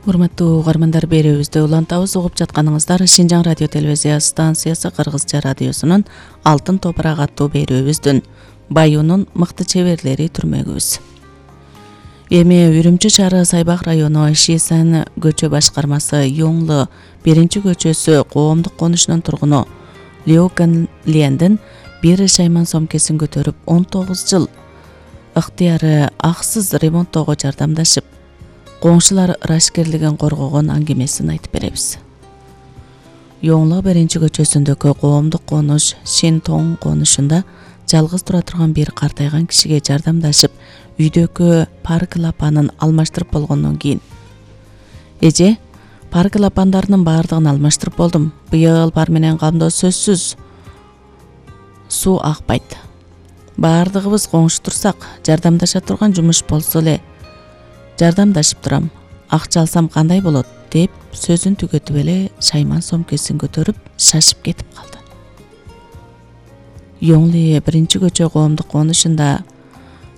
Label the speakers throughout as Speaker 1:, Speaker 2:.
Speaker 1: Урматтуу угармандар, берүүбүздү улантабыз. Угуп жатканыңыздар Шинжаң радио телевизия станциясы Кыргызча радиосунун Алтын топурак аттуу берүүбүздүн Баюунун мыкты чеберлери түрмөгүбүз. Эми Үрүмчү шаары Сайбак району Шисан көчө башкармасы Юңлу 1-көчөсү коомдук конушунун тургуну Лиу Ганлиендин бир шайман сомкесин көтөрүп 19 жыл ыктыяры аксыз ремонттоого жардамдашып, коңшулар рашкерлигин коргогон аңгемесин айтып беребиз. Юңлу 1-көчөсүндөгү коомдук конуш Шинтоң конушунда жалгыз тура турган бир картайган кишиге жардамдашып, үйдөгү пар клапанын алмаштырып болгондон кийин: "Эже, пар клапандарынын баардыгын алмаштырып болдум. Быйыл пар менен камдоо сөзсүз суу акпайт. Баардыгыбыз коңшу турсак, жардамдаша турган жумуш болсо эле жардамдашып турам. Акча алсам кандай болот?" деп сөзүн түгөтүп эле шайман сомкесин көтөрүп шашып кетип калды. Юңли 1-көчө коомдук конушунда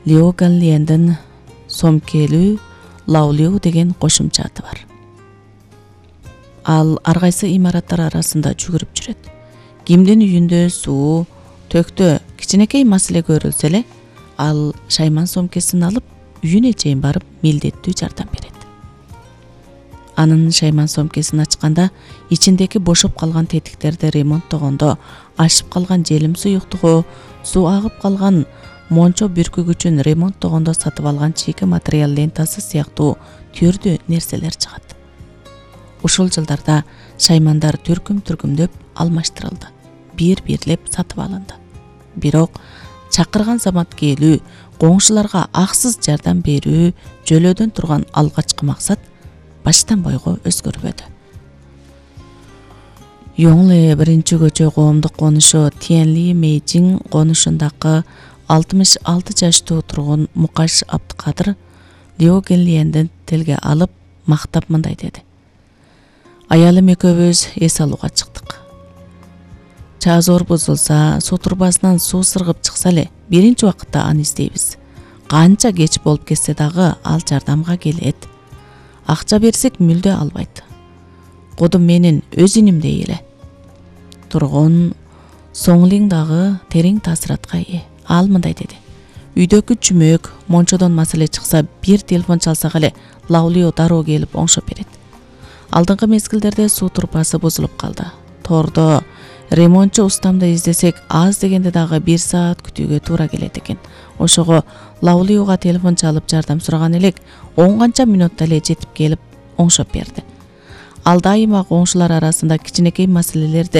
Speaker 1: Лиу Ганлиендин сомкелүү Лаулиу деген кошумча аты бар. Ал ар кайсы имараттар арасында жүгүрүп жүрөт. Кимдин үйүндө суу, төктө кичинекей маселе көрүлсө эле, ал шайман сомкесин алып үйүнө чейин барып милдеттүү жардам берет. Анын шайман сомкесин ачканда ичиндеги бошоп калган тетиктерди ремонттогондо, ашып калган желим суюктугу, суу агып калган мончо бүркүгүчүн ремонттогондо сатып алган чийки материал лентасы сыяктуу түрдүү нерселер чыгат. Ушул жылдарда шаймандар түркүмдөп алмаштырылды, бир-бирлеп сатып алынды. Бирок чакырган замат келүү, коңшуларга аксыз жардам берүү жөлөөдөн турган алгачкы максат баштан бойго өзгөрбөдү. Юңли 1-көчө коомдук конушу Тиенли Мэйжиң конушундагы 66 жаштуу тургун Мукаш Абдыкадыр Лиу Ганлиендин тилге алып мактап мындай деди: "Аялым экөөбүз эс алууга чыктык. Чаазор бузулса, суу турбасынан суу сыргып чыкса эле, биринчи убакытта аны издейбиз. Канча кеч болуп кетсе дагы ал жардамга келет. Акча берсек мүлдө албайт. Кудум менин өз инимдей эле." Тургун Соңлиң дагы терең таасиратка ээ. Ал мындай деди: "Үйдөгү чүмөк, мончодон маселе чыкса, бир телефон чалсак эле Лаулиу дароо келип оңшоп берет. Алдыңкы мезгилдерде суу турбасы бузулуп калды. Тордо ремонтчу устамды издесек, аз дегенде дагы 1 саат күтүүгө туура келет экен. Ошого Лаулиуга телефон чалып жардам сураган элек, 10 канча мүнөттө эле жетип келип оңшоп берди. Ал дайыма коңшулар арасында кичинекей маселелерди